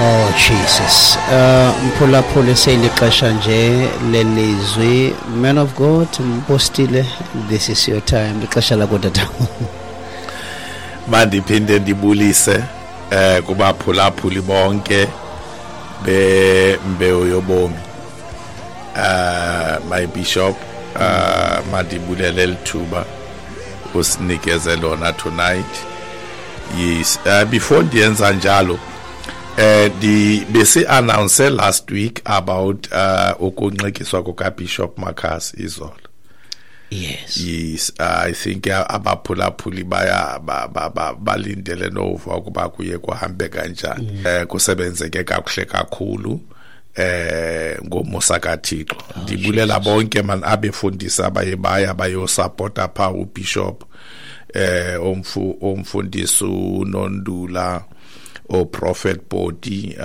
Oh Jesus. Mphulaphuli, seyilixesha nje lelizwi. Man of God, mpostile, this is your time. Lixesha lakho, tata. Mandiphinde ndibulise kubaphulaphuli bonke bembewu yobomi. My bishop, mandibulele lithuba usinikeze lona tonight. Yes, before ndiyenza njalo, di bese announce last week about ukunxikiswa kuka Bishop Makhasi izolo. Yes, I think abaphulaphuli baya balindele nova ukuba kuye kuhambe kanjani. Kusebenzeke kakuhle kakhulu ngomusa kaThixo. Ndibulela bonke man abefundisi abaye baya bayosupporta pha uBishop, umfundisi uNondula, o Prophet Body,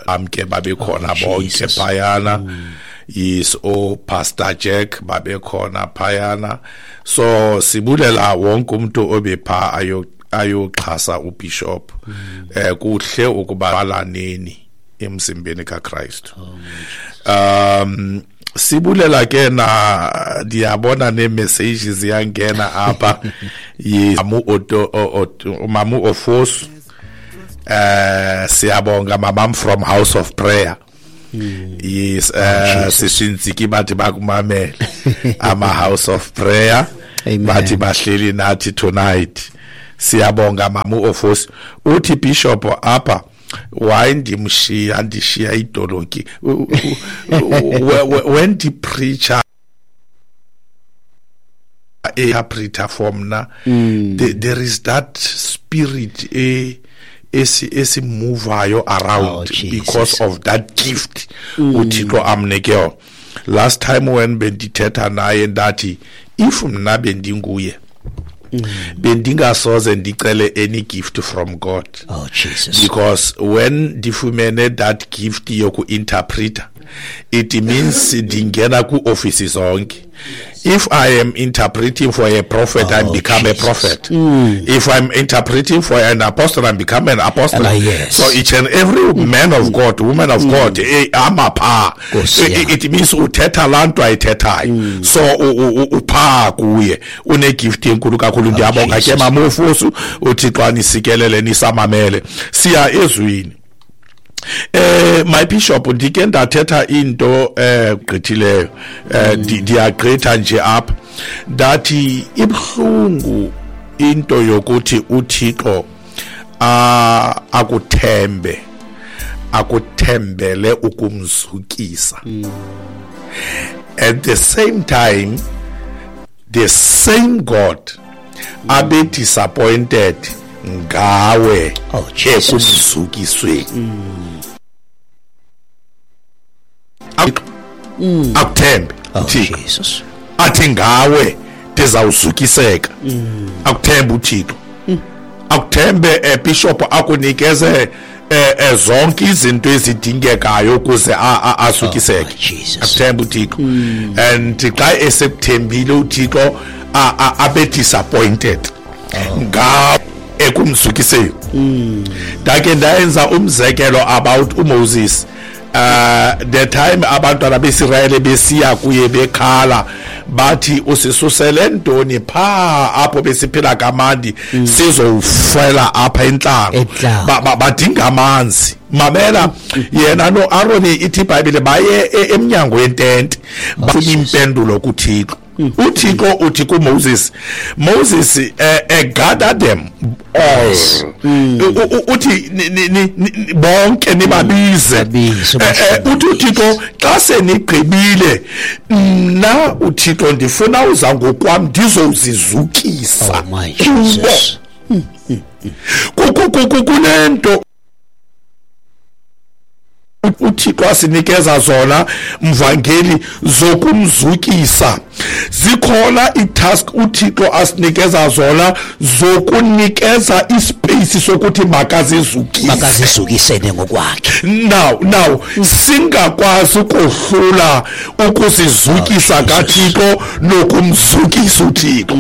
amke babekhona bonke phayana. Yes, o Pastor Jack babekhona phayana. So sibulela wonke umuntu obepha ayoxhasa uBishop. Kuhle ukuba balaneni emzimbeni kaKristu. Sibulela ke na ndiyabona ne-messages ziyangena apha. Mamu Oto, Mamu Ofosu, siyabonga mamam from House of Prayer. Yes, sisinziki bathi bakumamele ama House of Prayer. Amen. Bathi bahleli nathi tonight. Siyabonga Mamu Ofosu. Uthi Bishop apha, why ndimshiya, ndishiya idolonki when the preacher interpreter for mna, there is that spirit esimuvayo around. Oh, Jesus. Because of that gift uThixo amnike yona. Last time when bendithetha naye ndathi if mna bendinguye, bendingasoze ndicele any gift from God. Oh Jesus. Because when ndifumene that gift yoku-interpreter, it means ndingena ku-ofisi zonke. If I am interpreting for a prophet, I become a Jesus. prophet. If I'm interpreting for an apostle, I become an apostle. Yes. So each and every man of God, woman of God, amapha. Nkosi yam. It means uthetha laa nto ayithethayo. So upha kuye. Une-gift enkulu kakhulu. Ndiyabonga ke, Jesus. Mama Ofosu, uThixo anisikelele nisamamele. Siya ezwini. My bishop, ndike ndathetha into gqithileyo. Ndiyagqitha nje apha. Ndathi ibhlungu into yokuthi uThixo akuthembe, akuthembele ukumzukisa. At the same time, the same God abe disappointed ngawe Oh, Jesus. ekumzukisweni. Akuthembe Oh, uThixo. Jesus. Athi ngawe ndizawuzukiseka. Akuthembe uThixo. Akuthembe, bishop, akunikeze zonke izinto ezidingekayo ukuze azukiseke. Oh, Jesus. Akuthembe uThixo. And xa esekuthembile uThixo, abe disappointed ngawe ekumzukiseni. Ndake ndayenza umzekelo about uMoses. The time abantwana beIsrayeli besiya kuye bekhala bathi usisusele ntoni pha apho besiphila kamandi, sizofela apha entlango. Entlango. Badinga amanzi. Mamela, yena noAaron, ithi iBhayibhile baye emnyango wentente bafuna impendulo kuThixo. uThixo uthi kuMoses, Moses, gather them all. Uthi bonke nibabize. Babize, Uthi uThixo xa senigqibile, mna uThixo ndifuna uza ngokwam ndizozizukisa. Oh my Kubo. Jesus. Kunento uThixo asinikeza zona, mvangeli, zokumzukisa. Zikhona itask uThixo asinikeza zona zokunikeza ispace sokuthi makazizukise. Makazizukisene ngokwakhe. Now singakwazi ukohlula ukuzizukisa Oh, Jesus. kaThixo nokumzukisa uThixo.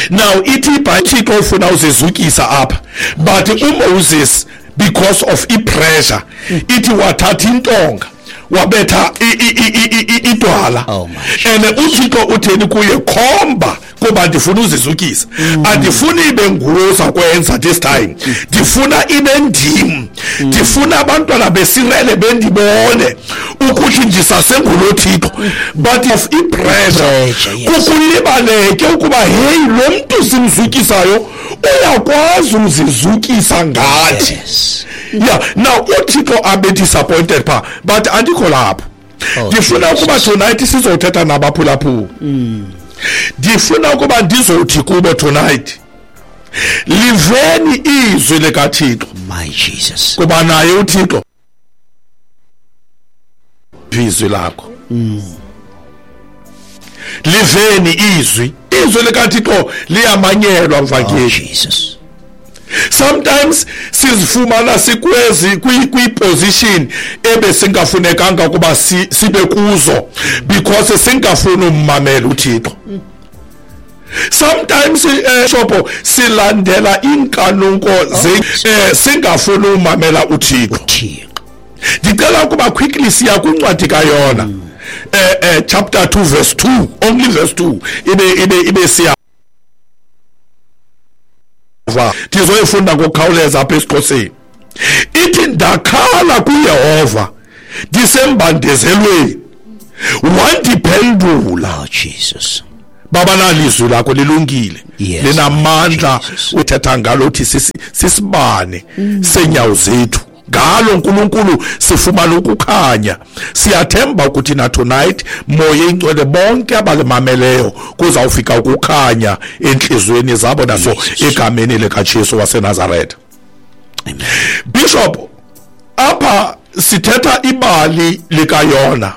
Now ithi iBhayibhile ufuna uzizukisa apha, but uMoses because of i-pressure ithi wathatha intonga wabetha idwala. And uThixo utheni kuye, khomba kuba ndifuna uzizukisa, andifuni ibe nguwe uzakwenza this time, ndifuna ibe ndim, ndifuna abantwana beSirayeli bendibone ukuthi ndisasengulo Thixo. But of i-pressure kukulibaleke ukuba hey, lo mntu simzukisayo uyakwazi uzizukisa ngathi. Yeah, now uThixo abe disappointed pha, but andikho lapho. Ndifuna ukuba tonight sizothetha nabaphulaphula. Ndifuna ukuba ndizothi kubo tonight, liveni izwi likaThixo. My Jesus. Kuba naye uThixo izwi lakho. Liveni izwi. Izwi likaThixo liyamanyelwa mvangeli. Oh, Jesus. Sometimes sizifumana sikwezi kwi-position ebesingafunekanga ukuba sibe kuzo because singafuni ummamela uThixo. Sometimes shopo silandela inkanuko singafuni umamela uThixo. Ndicela ukuba quickly siya kwincwadi kaYona chapter 2 verse 2, only verse 2 ibe siya ndizoyifunda ngokukhawuleza apha esiXhoseni. Ithi ndakhala kuYehova ndisembandezelweni, wandiphendula. Oh, Jesus. Baba, nalizwi lakho lilungile, linamandla. Uthetha ngalo uthi sisibane senyawo zethu, ngalo uNkulunkulu sifumana ukukhanya. Siyathemba ukuthi na tonight moya ingcwele bonke abalimameleyo kuzawufika ukukhanya enhlizweni zabo naso egameni likaJesu waseNazaretha. Amen. Bishop, apha sithetha ibali likaYona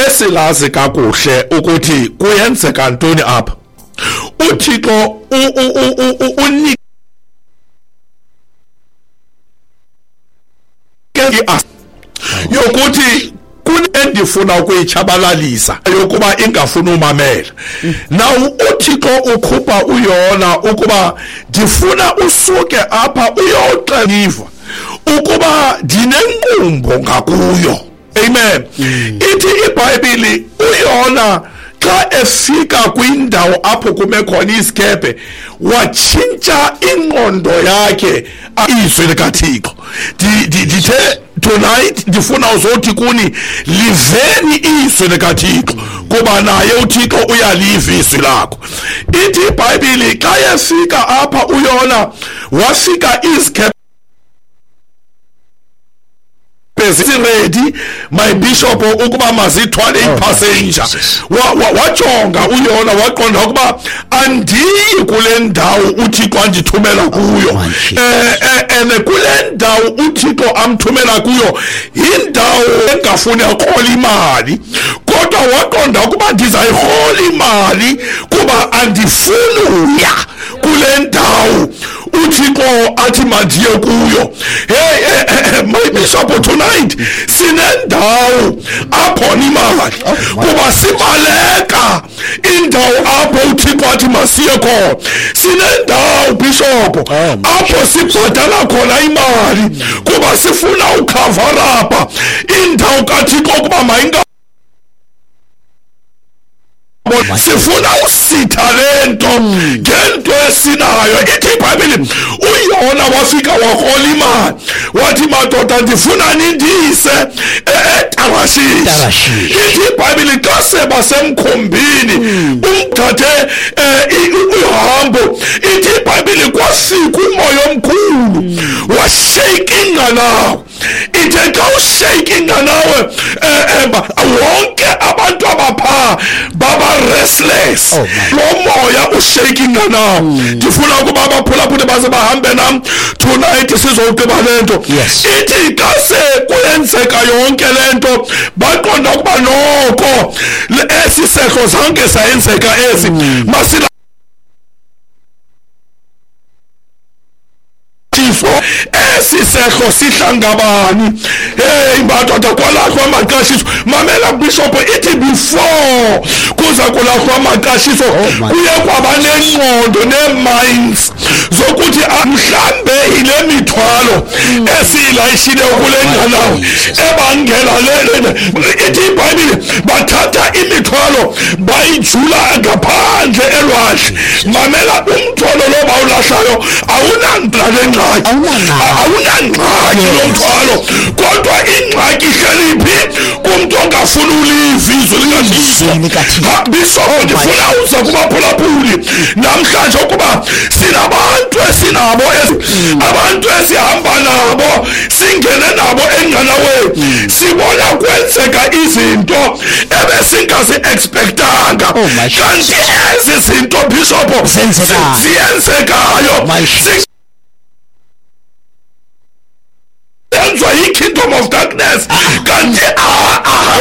esilazi kakuhle ukuthi kuyenzeka ntoni apha. uThixo unike yokuthi endifuna ukuyitshabalalisa yokuba ingafuni umamela. Now uThixo ukhupha uYona ukuba ndifuna usuke apha uyoxeliva ukuba ndinenqumbo ngakuyo. Amen. Ithi iBhayibheli uYona xa efika kwindawo apho kume khona isikephe watshintsha ingqondo yakhe izwi likaThixo. Ndithe tonight ndifuna uzothi kuni, liveni izwi likaThixo kuba naye uThixo uyaliva izwi lakho. Ithi iBhayibheli xa efika apha uYona wafika isikephe ready, my bishop, ukuba mazithwale ipassenger. Wajonga uYona waqonda ukuba andiyi kule ndawo uThixo andithumela kuyo. And kule ndawo uThixo amthumela kuyo indawo engafuni akhola imali, kodwa waqonda ukuba ndizayirhola imali kuba andifuni uya kule ndawo uThixo athi mandiye kuyo. Hey, my bishop, tonight sinendawo apho imali kuba sibaleka indawo apho uThixo athi masiye khona. Sinendawo bishop apho sibhadala khona imali kuba sifuna ucover up indawo kaThixo kuba mayinga sifuna usitha lento ngento esinayo. Ithi iBhayibheli uYona wafika warhola imali wathi madoda ndifuna nindise eTarashishi. Ithi iBhayibheli xa sebasemkhombini umthathe uhambo, ithi iBhayibheli kwafika umoya omkhulu washake ingqanawe. Ithe xa ushake ingqanawe wonke abantu abapha baba restless. Lo moya ushake ingqanawe. Ndifuna ukuba abaphulaphuli baze bahambe nam tonight sizowugqiba le nto. Ithi xa sekuyenzeka yonke le nto baqonda ukuba noko esi sehlo zange sayenzeka esi masila Esi sehlo sihlangabani. Hey madoda, kwalahlwa amaqashiso. Mamela bishop, ithi before kuza kulahlwa amaqashiso kuye kwaba nengqondo nee-minds zokuthi mhlambe yile mithwalo esiyilayishile kule nqanawe ebangela le. Ithi iBhayibhile bathatha imithwalo bayijula ngaphandle elwandle. Mamela, umthwalo lo bawulahlayo awunangxaki ngxaki, awunangxaki lo mthwalo, kodwa ingxaki ihleli phi? Kumntu ongafuni uliva izwi likaThixo. Bishop, ndifuna uza kubaphulaphuli namhlanje ukuba sinabantu esinabo, abantu esihamba nabo, singene nabo enqanaweni, sibona kwenzeka izinto ebesingazi-expectanga, kanti ezi zinto bishop ziyenzekayo zenziwa yi-kingdom of darkness, kanti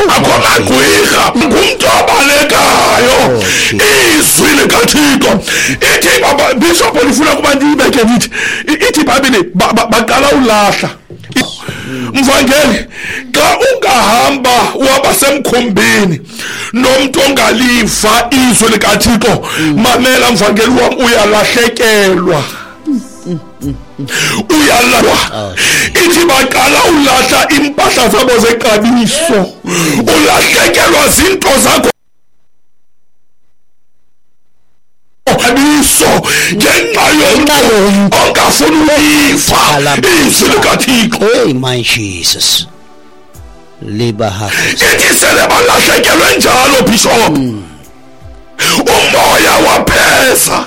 akho magqwirha, ngumntu obalekayo izwi likaThixo. Ithi bishop, ndifuna ukuba ndiyibeke ndithi, ithi iBhayibhile baqala ulahla. Mvangeli, xa ungahamba uhamba semkhumbini nomntu ongaliva izwi likaThixo, mamela mvangeli wam, uyalahlekelwa, uyalwa. Ithi baqala ulahla impahla zabo zexabiso, ulahlekelwa zinto zakho xabiso ngenxa yomntu ongafuni uliva izwi likaThixo. Hey my Jesus, ithi sele balahlekelwe njalo bishop, umoya wapheza,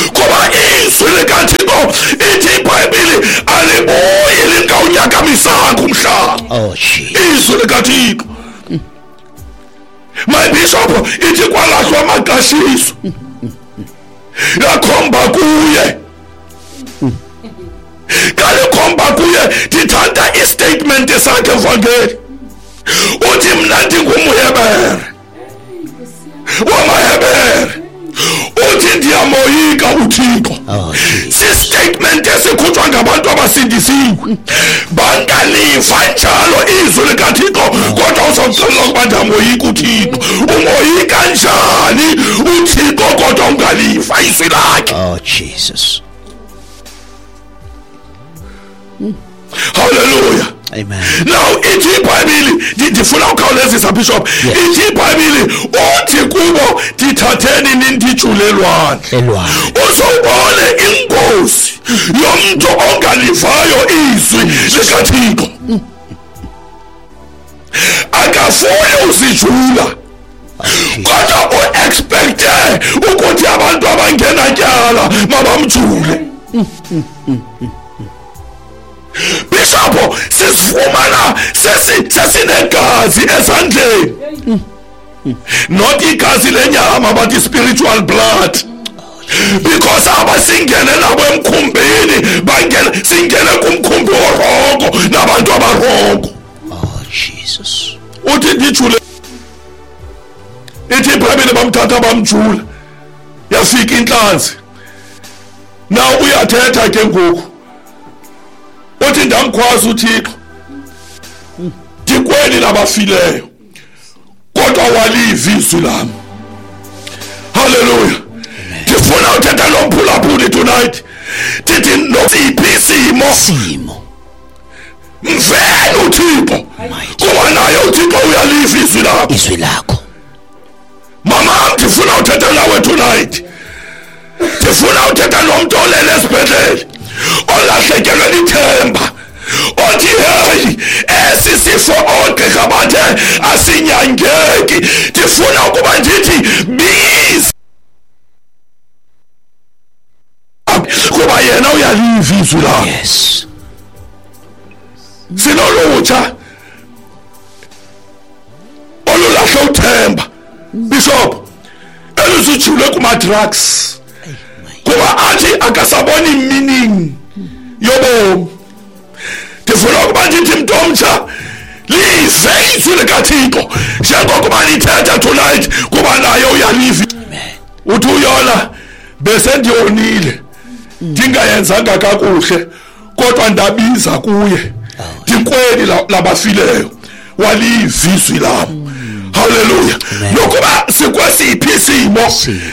kuba izwi likaThixo, ithi iBhayibhile, alibuyi lingawunyakamisanga umhlaba. Izwi likaThixo, my bishop, ithi kwalahlwa amaqashiso yakhomba kuye. Kalikhomba kuye, ndithanda istatement sakhe mvangeli, uthi mna ndingumHebere wamaHebere, uthi ndiyamoyika uThixo. Sistatement esikhutshwa ngabantu abasindisiwe, bangaliva njalo izwi likaThixo, kodwa uzawuxelela ukuba ndiyamoyika uThixo. Umoyika njani uThixo kodwa ungaliva izwi lakhe? Oh Jesus, hallelujah, amen. Now ithi iBhayibhile, ndifuna ukhawulezisa bishop, ithi iBhayibhile uthi kubo ndithatheni nindijule elwandle, uzobone ingozi yomntu ongalivayo izwi likaThixo. Akafuni uzijula, kodwa u-expecte ukuthi abantu abangenatyala mabamjule. Bishop, sisifumana sesinegazi ezandleni, not igazi lenyama but spiritual blood, because abasingene nabo emkhumbini bangena, singene kumkhumbi orongo nabantu abarongo. Oh Jesus, uthi ndijule. Ithi iBhayibhile bamthatha bamjula, yafika intlanzi. Now uyathetha ke ngoku, uthi ndamkhwaza uThixo, ndikweli labafileyo, kodwa waliva izwi lami. Hallelujah. Ndifuna uthetha lo mphulaphuli tonight, ndithi nosiphi isimo, mveni uThixo, kuba naye uThixo uyaliva izwi lakho, izwi lakho. Mama, ndifuna uthetha nawe tonight, ndifuna uthetha nomntu olele esibhedlele, olahlekelwe lithemba, othi hey, esi sifo oogqirha bathe asinyangeki. Ndifuna ukuba ndithi biza, kuba yena uyaliva izwi lakho. Yes, sinolutsha olulahle uthemba bishop, eluzijule kuma-drugs, kuba athi akasaboni meaning yobomi. Ndifuna ukuba ndithi mntu omtsha, live izwi likaThixo njengokuba lithetha tonight, kuba naye uyaliva. Uthi uyona, bese ndiyonile, ndingayenzanga kakuhle, Kodwa ndabiza kuye ndikweli labafileyo, waliva izwi lam. Haleluya. Nokuba sikwesiphi isimo,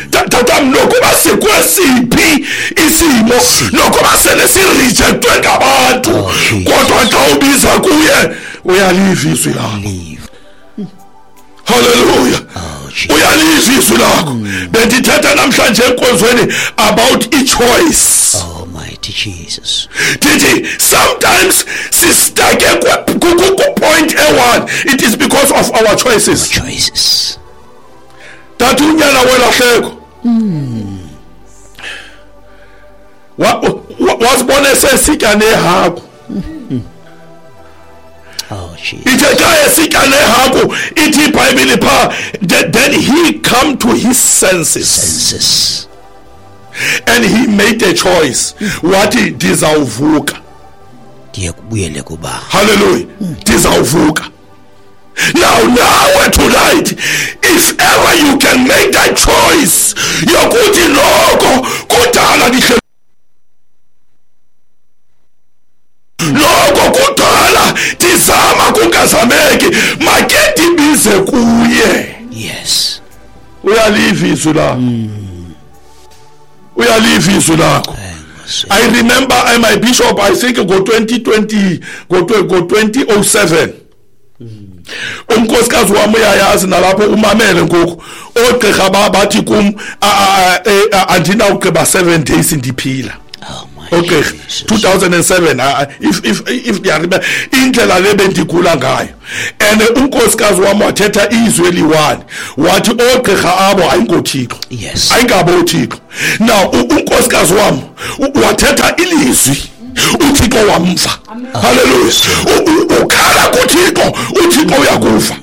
tatam, nokuba sikwesiphi isimo, nokuba sele sirejectwe ngabantu, kodwa xa ubiza kuye uyaliva izwi lakho. Haleluya. Uyaliva izwi lakho. Bendithetha namhlanje enkonzweni about i-choice. Oh mighty Jesus. Ndithi sometimes sistake ku-point e-one, it is because of our choices. Choices. Tata, unyana welahleko wasibona esesitya nehagu. Oh Jesus. Ithe xa esitya nehagu, ithi iBhayibhile phaa, then he come to his senses. Senses. And he made a choice. Wathi ndizawuvuka, ndiye kubuyele kuba. Hallelujah. Ndizawuvuka. Now, nawe tonight, if ever you can make that choice yokuthi noko kudala ndihle, noko kudala ndizama kungazameki, make ndibize kuye. Yes. Uyaliva izwi lakho. Uyaliva izwi lakho. I remember my bishop, I think go 2020, go 2007. Unkosikazi wami uyayazi nalapho umamele ngoku. Oogqirha bathi kum andinawugqiba 7 days ndiphila. Oh my Oogqirha Jesus. 2007, if ndiyaremember indlela le bendigula ngayo. And unkosikazi wami wathetha izwi eliyi-one, wathi oogqirha abo ayingoThixo. Yes. Ayingabo uThixo. Now unkosikazi wami wathetha ilizwi, uThixo wamva. Hallelujah. Ukhala kuThixo, uThixo uyakuva.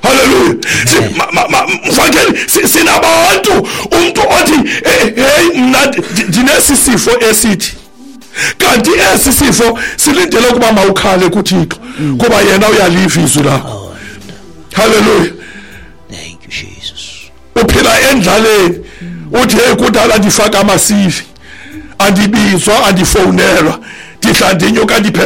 Hallelujah. Mvangeli, sinabantu umuntu othi hey, mna ndinesi sifo esithi, kanti esi sifo silindele ukuba mawukhale kuThixo, kuba yena uyaliva izwi lakho. Hallelujah. Thank you Jesus. Uphila endlaleni, uthi hey, kudala ndifaka amasivi, andibizwa, andifowunelwa, ndihla ndinyuka ndiphela.